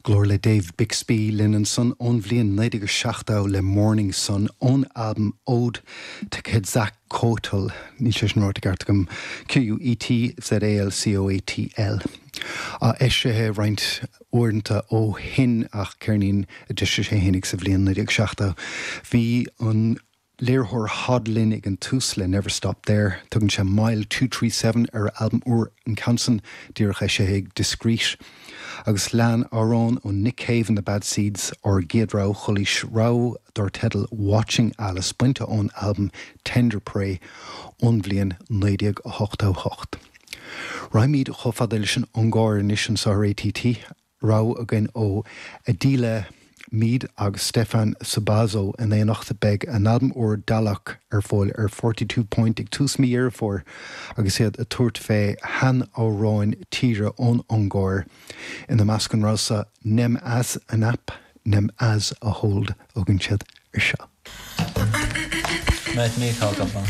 Glór le Dave Bixby linn ansan ón bhliain 1970 le Morning Sun ón albam Ode to Quetzalcoatl, níl sé sin ráite i gceart agam, Q-U-E-T-Z-A-L-C-O-A-T-L. Eisithe roinnt uaireanta ó shin ach ceirnín a d'eisigh sé fhéinig sa bhliain 1970. Bhí an léiritheoir Hod linn ag an tús le Never Stop There. Tugann sé Mile 237 ar a albam úr, an ceann san díreach eisithe ag Discreet. Agus lean amhrán ó Nick Cave and the Bad Seeds ár gcéad rogha chulaois, rogha dar teideal Watching Alice, bainte ón albam Tender Prey ón bhliain 1988. Raghaimid chomh fada leis an Ungáir anois anseo ar ATT. Rogha againn ó Adéla Mead agus Stefan Sobazo in éineacht. Beidh a n-albam úr Dalok ar fáil ar 42 Point ag tús mí Dheireadh Fómhair agus iad ag tabhairt fé sheanamhráin tíre ón Ungáir, ina measc an rogha seo Nem Ez a Nap, Nem Ez a Hold a thugann siad ar seo. Mehet meghallgatva.